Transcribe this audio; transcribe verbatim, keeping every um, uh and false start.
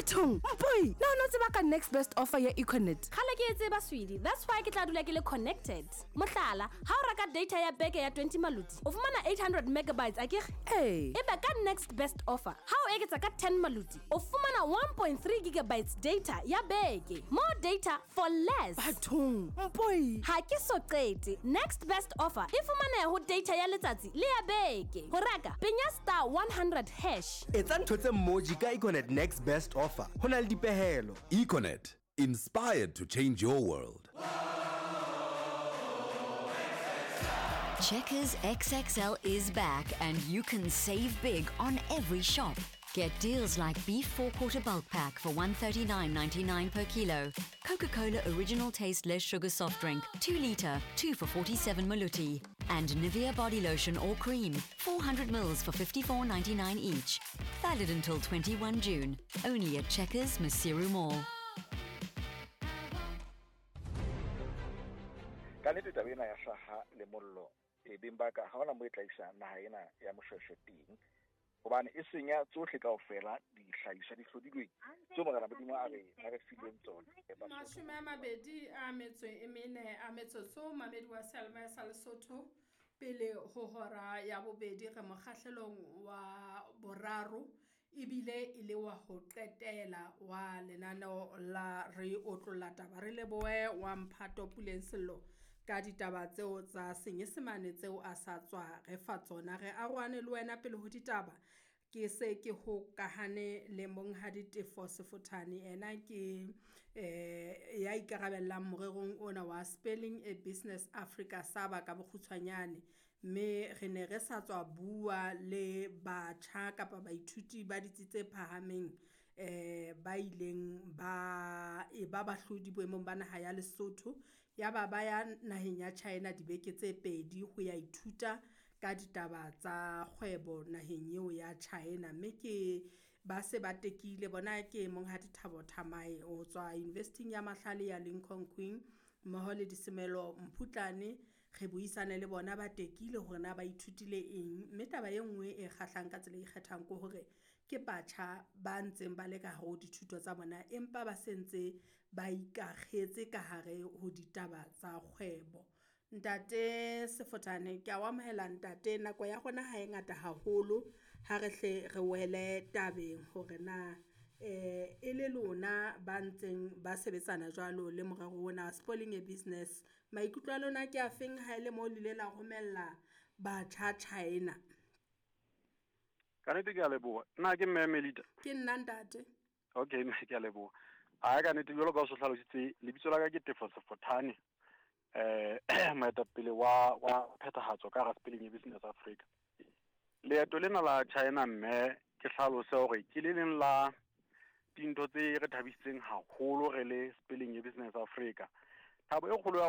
Bathong, mpoi, na o no tseba ka next best offer ya Econet? Kgale ke e tseba, sweetie. That's why ke tla dula ke le connected. Mohlala, ha o reka data ya beke ya twenty maluti, o fumana eight hundred megabytes, akere? Ee. Ebe ka next best offer, ha o eketsa ka ten maluti, o fumana one point three gigabytes data ya beke. More data for less. Bathong, mpoi. Ha ke so qete. Next best offer e fumaneha ho data ya letsatsi le ya beke. Ho reka, penya star one hundred hash. Etsa ntho tse mmoji ka Econet next best offer. Ho na le dipehelo. Econet, inspired to change your world. Checkers X X L is back and you can save big on every shop. Get deals like beef four-quarter bulk pack for one thirty-nine ninety-nine per kilo, Coca-Cola original taste less sugar soft drink, two litre, two for forty-seven maluti, and Nivea body lotion or cream, four hundred mils for fifty-four ninety-nine each. Valid until twenty-one June, only at Checkers Maseru Mall. Ka nnete taba ena ya hlaha le mollo, e beng ba ka ha hona mo e tla isa naha ena ya Moshweshwe teng, hobane e senya tsohle kaofela dihlahiswa di hlodilweng tseo Morena Modimo a re, a re fileng tsona. Mashome a mabedi a metso e mene a metsotso, mamedi wa Selma sa Lesotho, pele ho hora ya bobedi re mokgahlelong wa boraro ebile e le wa ho qetela wa lenaneo la Re Otlolla Taba. Re lebohe wa Mphato Puleng Sello ka ditaba tseo tsa Senyesemane tseo a sa tswa re fa tsona. Re arohane le wena pele ho ditaba. Ke se ke hokahane le Monghadi Tefo Sefothane, ena ke eh ya ikarabellang morerong ona wa Spelling a Business Africa Saba ka bokgutshwanyane. Mme re ne re sa tswa bua le batjha kapa baithuti ba ditsi tse phahameng eh ba ileng ba e ba bahlodi boemong ba naha ya Lesotho, ya ba ba ya naheng ya China dibeke tse pedi ho ya ithuta ka ditaba tsa kgwebo naheng eo ya China. Mme ke ba se ba tekile bona ke Monghadi Thabo Thamae o tswa University ya Mahlale ya Lincoln Queen mmoho le Disemelo Mphutlane. Re buisane le bona ba tekile hore na ba ithutile eng. Mme taba e nngwe e kgahlang ka tsela e ikgethang ke hore ke batjha ba ntseng ba le ka hare ho dithuto tsa bona, empa ba sentse ba ikakgetse ka hare ho ditaba tsa kgwebo. Ntate Sefothane, ke a o amohela ntate. Nako ya rona ha e ngata haholo, ha re hle re wele tabeng hore na eh e le lona ba ntseng ba sebetsana jwalo le morero ona Spelling a Business, maikutlo a lona ke a feng ha ele mo le ile la romella batjha China? Ka nnete ke a leboha. Nna ke Mme Melita. Ke nna ntate. Okay, mme ke a leboha. Ha ka nnete jwalo ka o so hlalositse, lebitso la ka ke Tefo Sefothane, eh moetapele wa wa phethahatso ka hara Spelling a Business Africa. Leeto lena la China mme ke hlalose hore ke le leng la dintho tse re thabisitseng haholo re le Spelling a Business Africa. Thabo e kgolo ya